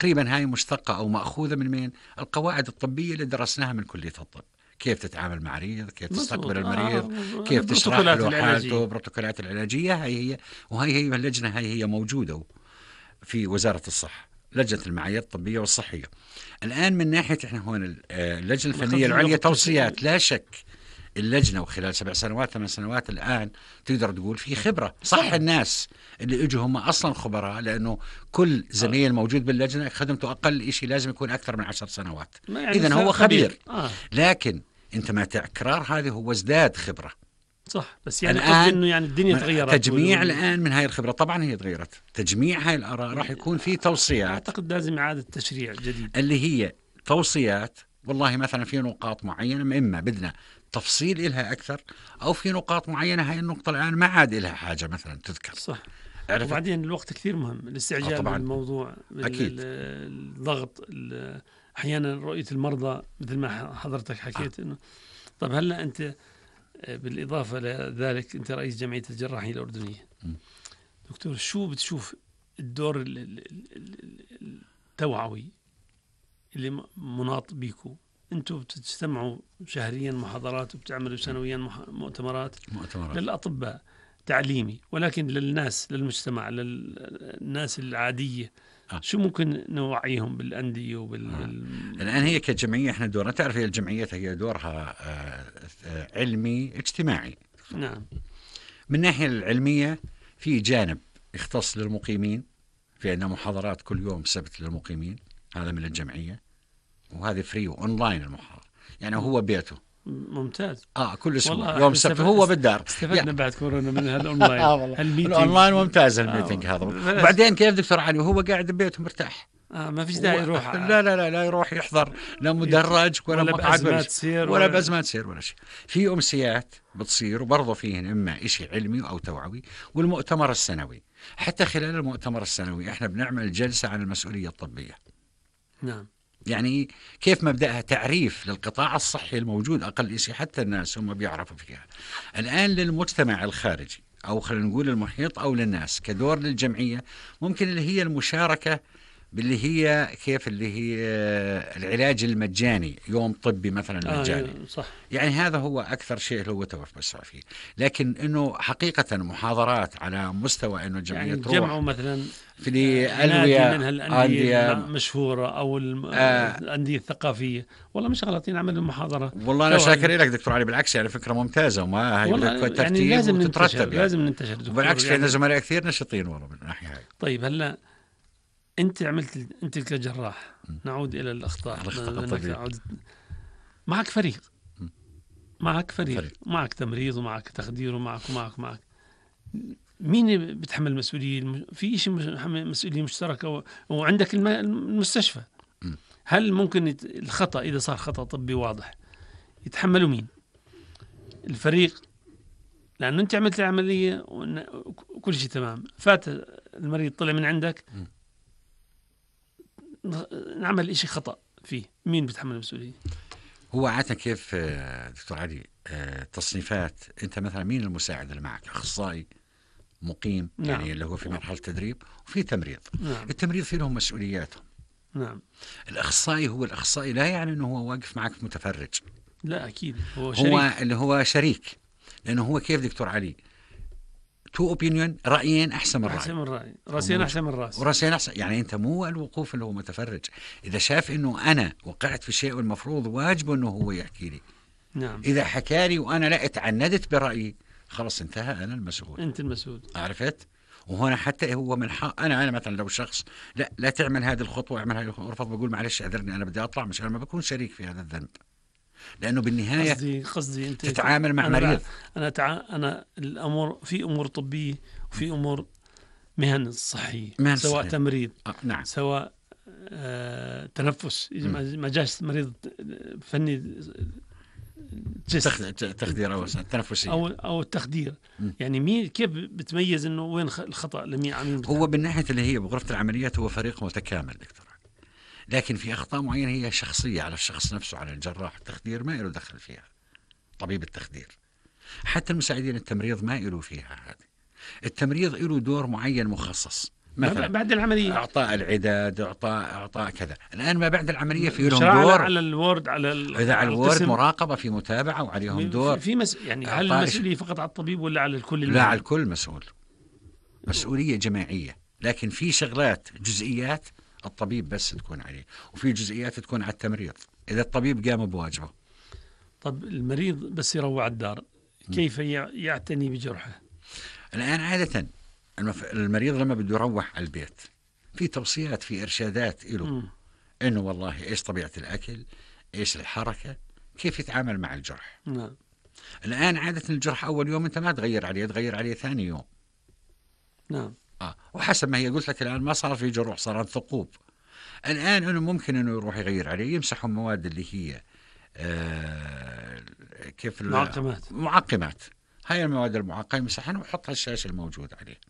تقريبا هاي مشتقة أو مأخوذة من مين؟ القواعد الطبية اللي درسناها من كلية الطب. كيف تتعامل مع مريض، كيف تستقبل المريض، كيف تشرح له حالته، بروتوكولات العلاجية. هي اللجنة هي موجودة في وزارة الصحة، لجنة المعايير الطبية والصحية. الآن من ناحية إحنا هون اللجنة الفنية العليا توصيات، لا شك اللجنة وخلال 7 سنوات 8 سنوات الآن تقدر تقول في خبرة. صح الناس اللي اجوا هم أصلا خبراء، لأنه كل زميل موجود باللجنة خدمته أقل إشي لازم يكون أكثر من 10 سنوات، يعني إذن هو خبير. لكن أنت مع تكرار هذه هو ازداد خبرة. صح، بس يعني قصدي إنه يعني الدنيا تغيرت. تجميع الآن من هاي الخبرة طبعا هي تغيرت، تجميع هاي الآراء راح يكون في توصيات. أعتقد لازم إعادة تشريع جديد، اللي هي توصيات. والله مثلا في نقاط معينة إما بدنا تفصيل إلها أكثر، أو في نقاط معينة هاي النقطة الآن ما عاد إلها حاجة مثلا تذكر. صح. وبعدين الوقت كثير مهم، الاستعجال بالموضوع، أكيد. الضغط، أحيانا رؤية المرضى مثل ما حضرتك حكيت إنه. طب هلا أنت بالإضافة لذلك أنت رئيس جمعية الجراحين الأردنية. دكتور، شو بتشوف الدور التوعوي اللي مناط بيكو؟ أنتوا بتجتمعوا شهريا محاضرات وبتعملوا سنويا مؤتمرات للأطباء تعليمي، ولكن للناس، للمجتمع، للناس العادية شو ممكن نوعيهم بالأندية الآن هي كجمعية احنا دورنا، تعرف هي الجمعيات هي دورها علمي اجتماعي. نعم. من الناحية العلمية في جانب يختص للمقيمين، في عندنا محاضرات كل يوم سبت للمقيمين، هذا من الجمعية، وهذه فري وأونلاين المحاضرة، يعني هو بيته. ممتاز. كل اسبوع يوم السبت هو بالدار. استفدنا بعد كورونا من هالاونلاين. الاونلاين ممتاز الميتنج هذا. وبعدين كيف دكتور علي وهو قاعد ببيته مرتاح، ما فيش داعي يروح. لا يروح يحضر لا مدرج ولا مقعد ولا بأزمات سير ولا شيء. في أمسيات بتصير وبرضه فيهن إما إشي علمي أو توعوي، والمؤتمر السنوي. حتى خلال المؤتمر السنوي إحنا بنعمل جلسة عن المسؤولية الطبية. نعم. يعني كيف مبدأها تعريف للقطاع الصحي الموجود، أقل شيء حتى الناس هم بيعرفوا فيها. الآن للمجتمع الخارجي أو خلينا نقول المحيط أو للناس كدور للجمعية، ممكن اللي هي المشاركة باللي هي كيف اللي هي العلاج المجاني، يوم طبي مثلا مجاني. صح. يعني هذا هو أكثر شيء اللي هو توسع فيه. لكن إنه حقيقة محاضرات على مستوى إنه الجمعية يعني تروح جمعوا مثلا في الأندية من هالأندية مشهورة أو الأندية الثقافية، والله مش غلطين عملوا محاضرة. والله أنا شاكر لك دكتور علي، بالعكس يعني فكرة ممتازة، وما هي ترتيب يعني لازم وتترتب. لازم ننتشر. بالعكس في زملاء كثير نشطين والله من الناحية هاي. طيب هلا أنت كجراح، نعود إلى الأخطاء. معك فريق. معك تمريض ومعك تخدير ومعك مين بتحمل مسؤولية؟ في شيء مسؤولية مشتركة، وعندك المستشفى. هل ممكن الخطأ إذا صار خطأ طبي واضح يتحملوا مين؟ الفريق، لأنه أنت عملت العملية وكل شيء تمام، فات المريض طلع من عندك، نعمل إشي خطأ فيه، مين بتحمل المسؤولية؟ هو عادة كيف دكتور علي تصنيفات، أنت مثلا مين المساعد اللي معك؟ أخصائي مقيم. نعم. يعني اللي هو في مرحلة تدريب، وفي تمريض. نعم. التمريض في لهم مسؤولياتهم. نعم. الأخصائي هو الأخصائي، لا يعني أنه هو واقف معك متفرج، لا أكيد هو اللي هو شريك. لأنه هو كيف دكتور علي تو اوبينيون، رأيين أحسن من رأي، رأسين أحسن من رأس، ورأسين أحسن. يعني أنت مو الوقوف اللي هو متفرج، إذا شاف إنه أنا وقعت في شيء والمفروض واجبه إنه هو يحكي لي. نعم. إذا حكى لي وأنا لا اتعندت برأيي، خلص انتهى، أنا المسؤول. أنت المسؤول. عرفت؟ وهنا حتى هو من حق أنا مثلا لو شخص لا تعمل هذه الخطوة، اعمل هذه الخطوة، ارفض، بقول معلش أعذرني أنا بدي أطلع، مش أنا ما بكون شريك في هذا الذنب. لأنه بالنهاية قصدي أنت تتعامل مع مريض. أنا الأمور في أمور طبية وفي أمور مهن صحية، سواء تمريض نعم. سواء تنفس، ما جاش مريض فني تخدير أو تنفسي أو التخدير. يعني مين كيف بتميز إنه وين الخطأ لمين عمين؟ هو بالناحية اللي هي بغرفة العمليات هو فريق متكامل دكتور، لكن في أخطاء معينة هي شخصية على الشخص نفسه، على الجراح. التخدير ما له دخل فيها، طبيب التخدير. حتى المساعدين التمريض ما له فيها هذه. التمريض له دور معين مخصص. مثلا بعد العملية، إعطاء العداد، إعطاء كذا. الآن ما بعد العملية في لهم دور دور على الوورد، إذا على الوورد مراقبة، في متابعة، وعليهم دور يعني هل المسؤولية فقط على الطبيب ولا على الكل؟ لا، على الكل مسؤول، مسؤولية جماعية. لكن في شغلات جزئيات الطبيب بس تكون عليه، وفي جزئيات تكون على التمريض إذا الطبيب قام بواجبه. طب المريض بس يروح على الدار كيف يعتني بجرحه؟ الآن عادة المريض لما بده يروح على البيت في توصيات، في إرشادات له إنه والله إيش طبيعة الأكل، إيش الحركة، كيف يتعامل مع الجرح. نعم. الآن عادة الجرح أول يوم أنت ما تغير عليه ثاني يوم. نعم. وحسب ما هي قلت لك الآن ما صار في جروح، صارت ثقوب. الآن إنه ممكن إنه يروح يغير عليه، يمسحوا المواد اللي هي كيف معقمات. هاي المواد المعقمة يمسحها ويحطها الشاشة الموجود عليه.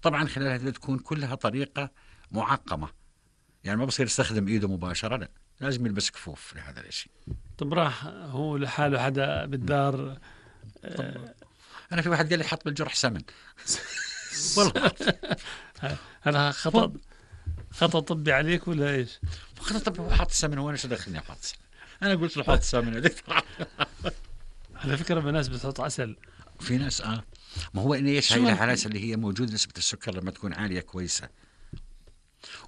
طبعا خلال هذا تكون كلها طريقة معقمة، يعني ما بصير يستخدم إيده مباشرة، لا، لازم يلبس كفوف لهذا الشيء. طب راح هو لحاله حدا بالدار أنا في واحد قال لي حط بالجرح سمن. والله هذا خطأ طبي عليك ولا إيش؟ خطأ طبي، هو حط سمن، وأنا شو دخلني أحط سمن؟ أنا قلت له حط سمن يا دكتور. على فكرة بالناس بتحط عسل، في ناس ما هو إن إيش هاي الحالات اللي هي موجود نسبة السكر لما تكون عالية كويسة.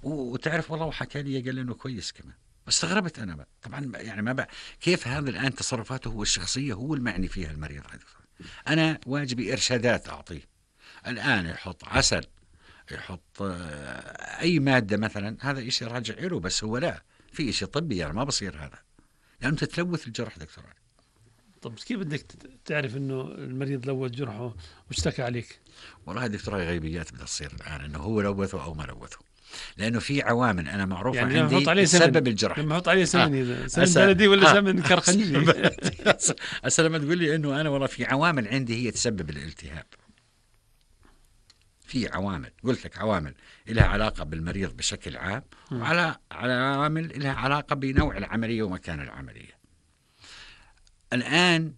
وتعرف والله وحكى لي قال لي إنه كويس كمان. استغربت أنا بقى. طبعا يعني ما بقى كيف هذا الآن تصرفاته هو الشخصية هو المعني فيها المريض. أنا واجبي إرشادات أعطيه. الآن يحط عسل، يحط أي مادة مثلا، هذا إشي راجع له، بس هو لا في إشي طبي يعني ما بصير هذا، يعني أنت تلوث الجرح دكتور. طب كيف بدك تعرف إنه المريض لوث جرحه واشتكى عليك؟ والله دكتور هاي غيبيات بدها تصير الآن إنه هو لوثه أو ما لوثه، لأنه في عوامل أنا معروفة يعني عندي تسبب الجرح. لما أحط عليه سمن سمن بلدي ولا سمن كرخنجي؟ هسه لما تقول لي إنه أنا والله في عوامل عندي هي تسبب الالتهاب. في عوامل قلت لك، عوامل لها علاقة بالمريض بشكل عام، وعلى عوامل لها علاقة بنوع العملية ومكان العملية. الآن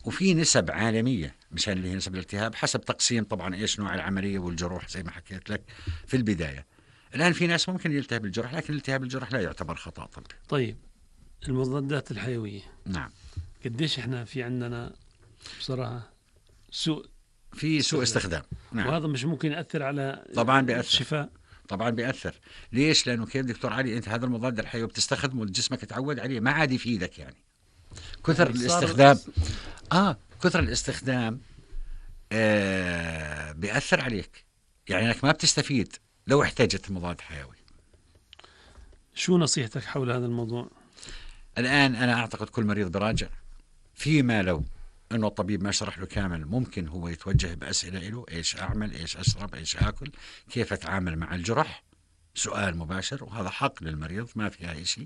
وفي نسب عالمية مشان اللي هي نسب الالتهاب حسب تقسيم طبعا إيش نوع العملية والجروح زي ما حكيت لك في البداية. الآن في ناس ممكن يلتهب الجرح، لكن التهاب الجرح لا يعتبر خطأ طبي. طيب المضادات الحيوية، نعم، قديش إحنا في عندنا بصراحة سوء استخدام. نعم. وهذا مش ممكن يأثر على طبعا بيأثر. الشفاء طبعا بيأثر. ليش؟ لأنه كيف دكتور علي أنت هذا المضاد الحيوي بتستخدمه جسمك تعود عليه، ما عاد يفيدك يعني كثر الاستخدام. كثر الاستخدام بيأثر عليك، يعني انك ما بتستفيد لو احتاجت مضاد حيوي. شو نصيحتك حول هذا الموضوع؟ الآن أنا أعتقد كل مريض براجع فيما لو أنه الطبيب ما شرح له كامل، ممكن هو يتوجه بأسئلة له، إيش أعمل، إيش أشرب، إيش أكل، كيف أتعامل مع الجرح، سؤال مباشر، وهذا حق للمريض ما فيها أي شيء.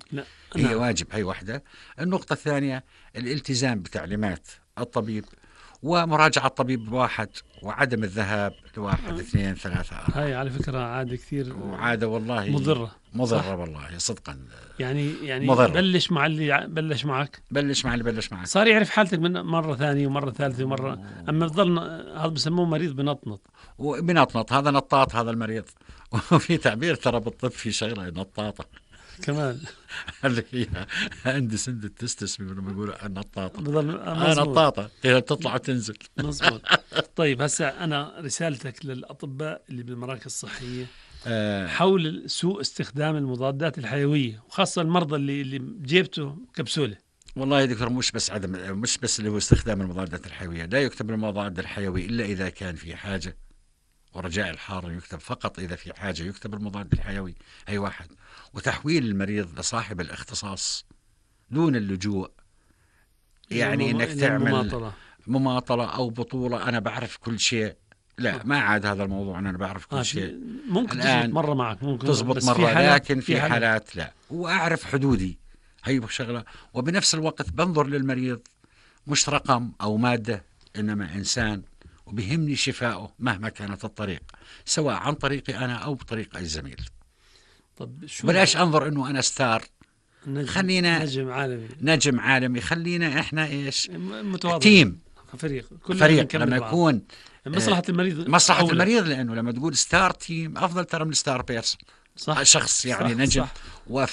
هي واجب. هي واحدة. النقطة الثانية الالتزام بتعليمات الطبيب ومراجعة الطبيب واحد، وعدم الذهاب لواحد 2 3 4. هاي على فكرة عادة كثير، وعادة والله مضرة والله صدقا. يعني مضرة. بلش مع اللي بلش معك، بلش مع اللي بلش معك، صار يعرف حالتك من مرة ثانية ومرة ثالثة ومرة. أما بضل هذا بسموه مريض بنطنط، وبنطنط هذا نطاط هذا المريض. وفي تعبير ترى بالطب في شغلة نطاطة كمان اللي هي عندي سند التستس لما يقولوا النطاطة، نطاطة تطلع وتنزل. مظبوط. طيب هسه أنا رسالتك للأطباء اللي بالمراكز الصحية حول سوء استخدام المضادات الحيوية، وخاصة المرضى اللي بجيبته كبسولة. والله يا دكتور مش بس اللي هو استخدام المضادات الحيوية. لا يكتب المضاد الحيوي إلا إذا كان في حاجة، ورجاء الحار يكتب فقط إذا في حاجة يكتب المضاد الحيوي. أي واحد. وتحويل المريض لصاحب الاختصاص دون اللجوء، يعني إنك تعمل مماطلة أو بطولة أنا بعرف كل شيء. لا، ما عاد هذا الموضوع أنا بعرف كل شيء. ممكن تزبط مرة معك، ممكن تزبط مرة، لكن في حالات لا. وأعرف حدودي، هي شغلة. وبنفس الوقت بنظر للمريض مش رقم أو مادة، إنما إنسان، وبيهمني شفائه مهما كانت الطريق، سواء عن طريقي أنا أو بطريق أي زميل. طب شو بلاش أنظر إنه أنا ستار، خلينا نجم عالمي، خلينا إحنا إيش متواضع، تيم، فريق لما يكون مصلحة المريض مصلحة المريض، لأنه لما تقول ستار تيم أفضل ترى من ستار بيرسون، صح. شخص يعني صح. نجم. صح.